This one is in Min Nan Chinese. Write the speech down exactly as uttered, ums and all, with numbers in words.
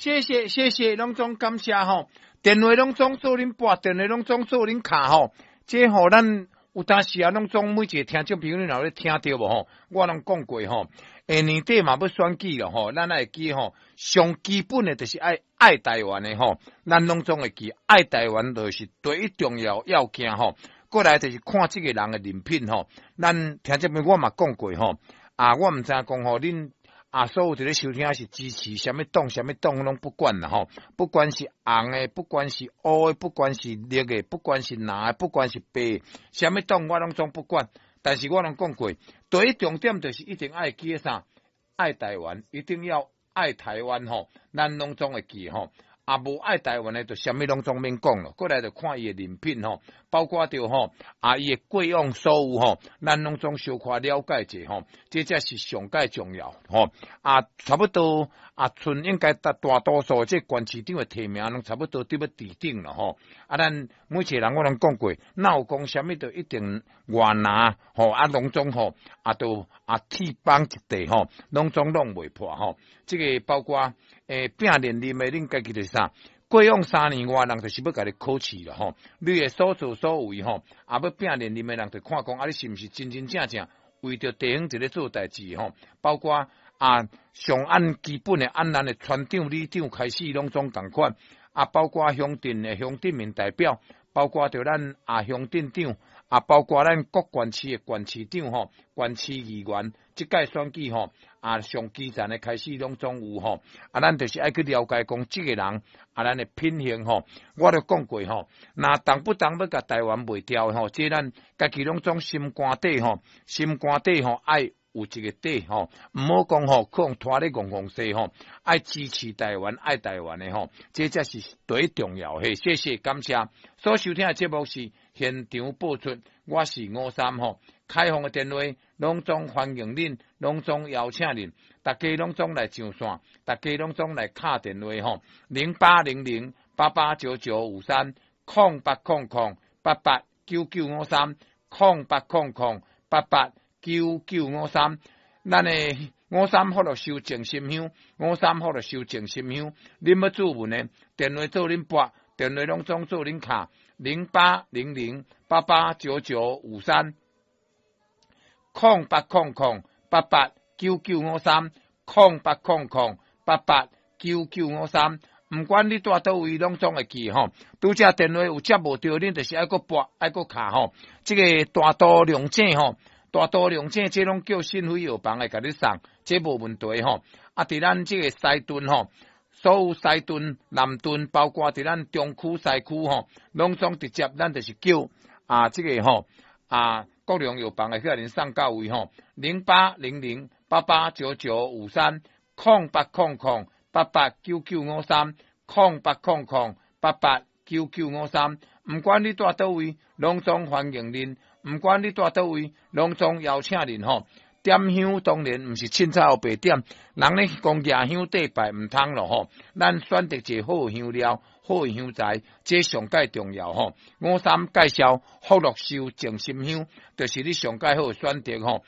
謝謝謝謝，攏總感謝吼。電話攏總做恁撥，電話攏總做恁敲吼。這吼咱有當時啊，攏總每一个聽眾朋友，你若有咧聽著無吼？我攏講過吼，下年底嘛欲選舉了吼，咱愛會記吼，上基本的就是愛愛台灣的吼，咱攏總會記愛台灣就是第一重要要件吼。過來就是看這個人的人品吼，咱聽眾朋友我嘛講過吼，啊，我毋知影講吼，恁啊所有佇咧收聽是支持啥物黨，啥物黨攏不管啦吼，不管是紅的，不管是烏的，不管是綠的，不管是藍的，不管是白的，啥物黨我攏總不管。但是我攏講過，第一重點就是一定愛記啥，愛台灣，一定要愛台灣吼，咱攏總會記吼。啊，無愛台灣的，就啥物攏總免講咯。過來就看伊的人品吼，包括著吼，啊，伊的過往所有吼，咱攏總小可了解者吼，這才是上蓋重要吼。啊，差不多啊，賰應該大大多數這縣市長的提名攏差不多佇欲佇頂了吼。啊，咱每一個人我攏講過，若有講啥物，就一定外拿吼，啊，攏總吼，啊，都啊鐵綁一塊吼，攏總弄袂破吼。這个包括。欸，拼連任的，恁家己就是啥？過往三年外人就是欲共你考試了吼，你的所作所為吼，啊，欲拼連任的人就看講啊，你是毋是真真正正為著地方佇咧做代誌吼？包括啊，上按基本的按咱的村長、里長開始攏總仝款，啊，包括鄉鎮的鄉鎮民代表，包括著咱啊鄉鎮長，啊，包括咱各縣市的縣市長吼、縣市議員，這屆選舉吼，啊，上基層的開始攏總有吼，啊，咱就是愛去了解講這個人啊，咱的品行吼，我都講過吼，若動不動欲共台灣賣掉吼，這咱家己攏總心肝底吼，心肝底吼愛有一个底吼，毋好講吼，去予拖咧戇戇勢吼，愛支持台灣，愛台灣的吼，這才是第一重要的。謝謝，感謝。所收聽的節目是現場播出，我是吳三吼，開放的電話攏總歡迎恁，攏總邀請恁，大家攏總來上線，大家攏總來敲電話吼，零八零零八八九九五三，空八空空八八九九五三，空八空空八八九九五三，咱的吳三福祿壽靜心香，吳三福祿壽靜心香，恁欲注文的，電話做恁撥，電話攏總做恁敲，零八零零八八九九五三，空八空空八八九九五三，空八空空八八九九五三，毋管你蹛佗位，攏總會記吼。拄才電話有接無著，恁就是愛閣撥，愛閣敲吼。這个大都龍井吼。大都龍井這攏叫信輝藥房會共你送，這無問題吼。啊，佇咱這个西屯吼，所有西屯、南屯，包括佇咱中區、西區吼，攏總直接咱就是叫啊，這个吼啊，國良藥房會去共恁送到位吼。零八零零八八九九五三，空八空空八八九九五三，空八空空八八九九五三。毋管你蹛佗位，攏總歡迎恁。毋管你蹛佗位，攏總邀請恁吼。點香當然毋是凊彩烏白點，人咧講舉香綴拜毋通咯吼。咱選擇一个好香料、好香材，這上蓋重要吼。吳三介紹福祿壽靜心香，就是你上蓋好選擇吼。